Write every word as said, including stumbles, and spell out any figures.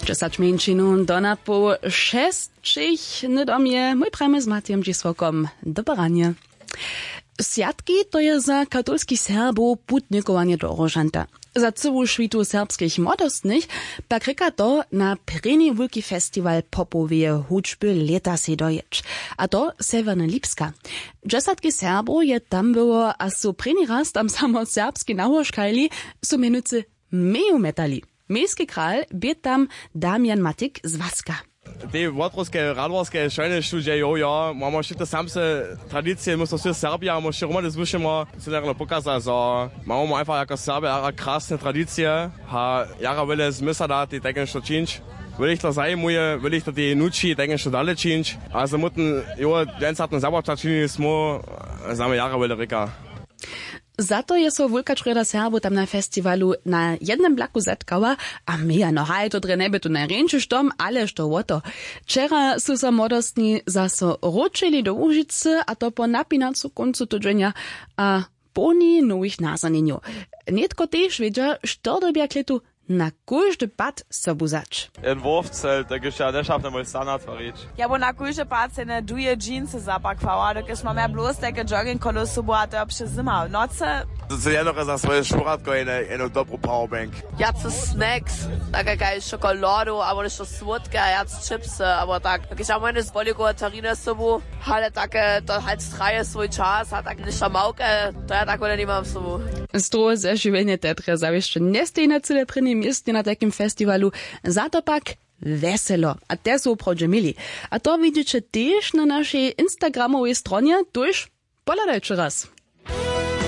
Dźesać mjeńšinow do napoł šesćich. Hnydom je mój prajmy z Matijom Dźisłokom. Dobre ranje. Swjatki, to je za katolskich Serbow putnikowanje do Róžanta. Za cyłu šwitu serbskich młodostnych pak rěka to na prěni wulki festiwal popoweje hudźby lěta sej dojěć, a to sewjerny lipska. Dźesatki Serbow je tam było a su prěni raz tam samo serbski nałožkajli, su mjenujcy meju metali. Mejski kral bě tam Damian Matik z Waska. Tej wotrowske radworske šojne študije jo jo mamo wšite samse tradicije my so wšě serbija mo wšě hromady zwyšimo. Sydlerno pokaza zo mamo mo einfach jako serbija jara krasne tradicije. A jara wjele zmysla da tej tajke što čińć. Wjele jich to zajimuje, wjele jich to tej nući tajke što dale čińć. A za mutn jo dźensatny zabača činili smo. Znamy jara wjele rěka. Za to je so wulka črjoda Serbow tam na festiwalu na jednym blaku zetkała. A mějano haj to drje njeby tu najrjeńši štom ale što wo to. Wčera su so młodostni zaso wróćili do łužicy a to po napinacu kóncu tydźenja a połni nowych nazhonjenjow. Nětko tež wědźa što dyrbja klětu na kóždy pad sobu wzać. Jen wowcel tak hišće ja nješapnje mój stan natwarić. Ja bó na kóždy pad sejne duje džincy zapakwała dokelž mam ja blós tajke jogging kolo sobu a to jo přez zymał nocy. To se jednore za swoje šuratko jene jenu dobru powerbank. Wjace snacks, take kaž šokoladu abo něšto słódke a wjac chipsy abo tak dokelž ja mój jene z bolikowe tariny sobu. Ale take to hač traje swój čas a tak něšto małke. To ja tak wjele nimam sobu. Strohe zežiwjenje teatre zawěsće njesteji na cyle prěnim městnje na tajkim festiwalu. Za to pak wjeselo a te su woprawdźe měli. A to widźeće tež na našej instagramowej stronje tuž. Pohladajće raz.